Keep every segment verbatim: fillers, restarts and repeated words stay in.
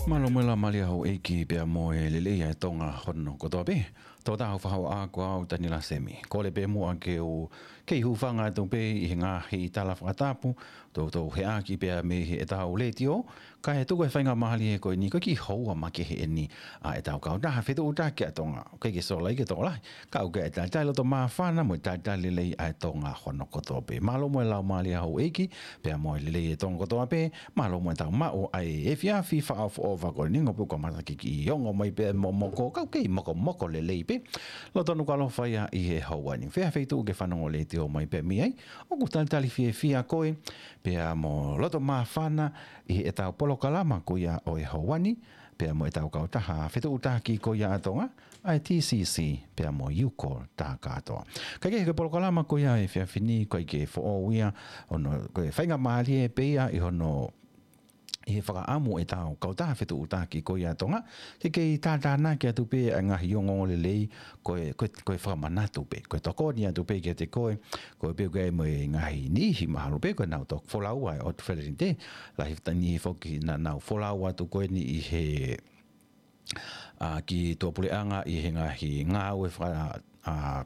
Mālō mo e laumālie houʻeiki pea mo e lelei ʻa e Tonga hono kotoa pē. Tō taha ʻo faʻu ʻa ko au Taniela Semi. Kole pē muʻa ke u kei hūfanga atu pē ʻi he ngaahi tala fakatapu, toutou heʻaki pea mei heʻetau letiō, kae tuku e faingamālie ko eni ko e kiʻi houa makehe eni ʻa ʻetau kautaha fetuʻutaki ʻa Tonga. ʻOku ʻikai ke sola ia ke tokolahi, ka ʻoku ʻi ai e talitali loto māfana mo e talitali lelei ʻa e Tonga hono kotoa pē. Mālō mo e laumālie houʻeiki, pea mo e lelei ʻa e Tonga kotoa pē, mālō mo ʻetau maʻu ʻa e efiafi fakaʻofoʻofa ko eni, ʻo pea ʻoku kamata ke kiʻi ongo mai pē momoko, ka ʻoku kei mokomoko lelei pē. Lotonu ke ʻaloʻofa ia ʻi he houa ni. Fē ha feituʻu ke fanongo letiō mai pē mei ai, ʻoku talitali fiefia koe, pea mo loto māfana ʻi heʻetau polokalama ko ia ʻo e houa ni, pea mo ʻetau kautaha fetuʻutaki ko ia ʻa Tonga, ʻa e T C C, pea mo e U call tā kātoa. Kae kehe, ko e polokalama ko ia he efiafi ni, ʻoku ʻikai ke foʻou ia, ʻo ne, ko e faingamālie pē ia ʻi hono, ʻi he fakaʻamu ʻetau kautaha fetuʻutaki ko ia ʻa Tonga, ke kei tātānaki atu pē ʻa e ngaahi ongoongo lelei, ko e, ko e, ko e fakamanatu pē, ko e tokoni atu pē kiate koe, ko e pē ʻoku ʻi ai mo e ngaahi niʻihi mahalo pē ko ʻenau toki folau ʻa e ʻOtu Felenite, lahi fata niʻihi foki naʻa nau folau atu ko eni ʻi he, ʻa, ki tuʻapuleʻanga ʻi he ngaahi ngāue faka-, ʻa,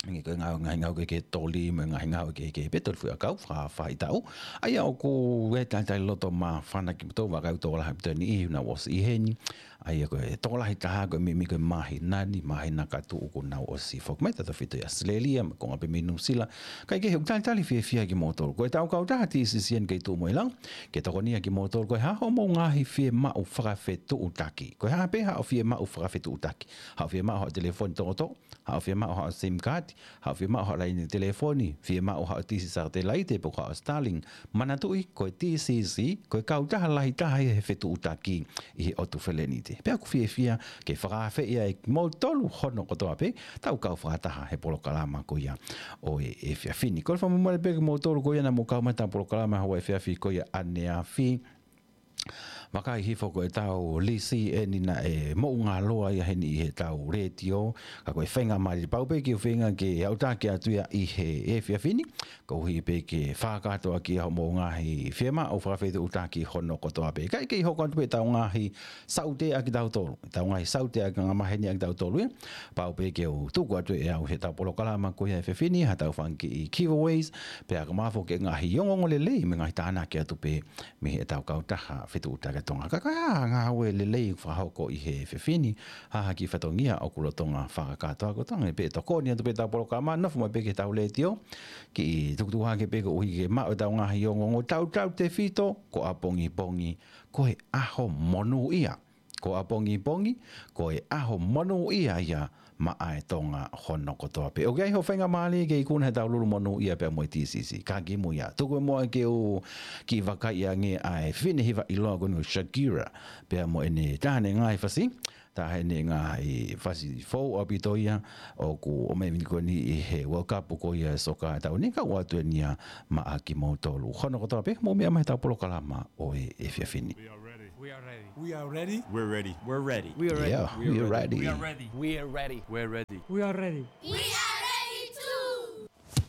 ngaahi ko e ngāue, ngaahi ngāue kehekehe toli mo e ngaahi ngāue kehekehe pē, toli fuʻu ʻakau, faka-, faʻahitaʻu. ʻA ia ʻoku ʻi ai e talitali loto māfana kimoutolu, vakai ʻoku tokolahi pē ʻa e niʻihi ʻoku nau ʻosi ʻi heni. ʻA ia ko e tokolahi taha ko e meimei ko e māhina ni, māhina ka tuʻu kuo nau ʻosi foki mai, tautefito ʻi ʻAositelēlia, mo e konga pē mei Nuʻusila. Kae kehe, ʻoku talitali fiefia kimoutolu. Ko ʻetau kautaha T C C eni kei tuʻu mo e lau, ke tokonia kimoutolu, ko e hā hoʻomou ngaahi fiemaʻu fakafetuʻutaki. Ko e hā pē haʻo fiemaʻu fakafetuʻutaki. Haʻo fiemaʻu haʻo telefoni tokoto, haʻo fiemaʻu haʻo SIM card, haʻo fiemaʻu haʻo laine telefoni, fiemaʻu haʻo tisi satelaite pe ko haʻo Starlink. Manatuʻi, ko e T C C, ko e kautaha lahi taha ia he fetuʻutaki ʻi he ʻOtu Felenite. Pea ʻoku fiefia ke fakaafeʻi ai kimoutolu hono kotoa pē, tau kau fakataha he polokalama ko ia ʻo e efiafi ni. Kole fakamolemole pē kimoutolu ko ia naʻa mou kau mai heʻetau polokalama houa efiafi ko ia ʻaneafi. Vakai hifo, ko ʻetau lisi eni naʻe moʻungāloa ia heni ʻi heʻetau letiō, ka ko e faingamālie pau pē ke u feinga ke aʻutaki atu ia ʻi he efiafi ni, koeʻuhi pē ke fakakātoa ki ai hoʻomou ngaahi fiemaʻu fakafetuʻutaki hono kotoa pē. Kae kei hoko atu pē ʻetau ngaahi saute ʻa kitautolu, ʻetau ngaahi saute ʻa e angamaheni ʻa kitautolu ia, pau pē ke u tuku atu ʻe au heʻetau polokalama ko ia he efiafi ni, haʻatau fanga kiʻi giveaways, pea ka mafo ke ngaahi ongoongo lelei mo e ngaahi tānaki atu pē mei heʻetau kautaha fetuʻutaki ʻa Tonga. Ka ko e hā ha ngāue lelei ʻoku fakahoko ʻi he efiafi ni, hā ha kiʻi fatongia ʻoku lolotonga fakakātoa, ko e ʻuhinga pē ʻe tokoni atu pē ʻetau polokalama, nofo mai pē ki heʻetau letiō, kiʻi tukutuku hake pē koeʻuhi ke maʻu ʻetau ngaahi ongoongo, tautautefito ko ʻapongipongi, ko e ʻaho monūʻia. Ko ʻapongipongi, ko e ʻaho monūʻia ia maʻa e Tonga hono kotoa pē. ʻOku ʻi ai hoʻo faingamālie ke ikuna heʻetau lulu monūʻia pea mo e T C C. Ka kimuʻa ia, tuku muʻa ke u kiʻi vakaiʻi ange ʻa e fefine hiva ʻiloa ko eni ko Shakira, pea mo ʻene taha ʻene ngaahi fasi, taha ʻene ngaahi fasi foʻou ʻaupito ia, ʻoku ʻomai ʻeni ko eni ʻi he World Cup ko ia e soka ʻo e taʻu ni, ka ʻoku ʻoatu eni ia maʻa kimoutolu hono kotoa pē, mou meʻa mai heʻetau polokalama ʻo e efiafi ni. We are ready. We are ready. We are ready. We're ready. We're ready. We're ready. Yeah, we are ready. We are ready. We are ready. We're ready. We're ready. We are ready. We are ready.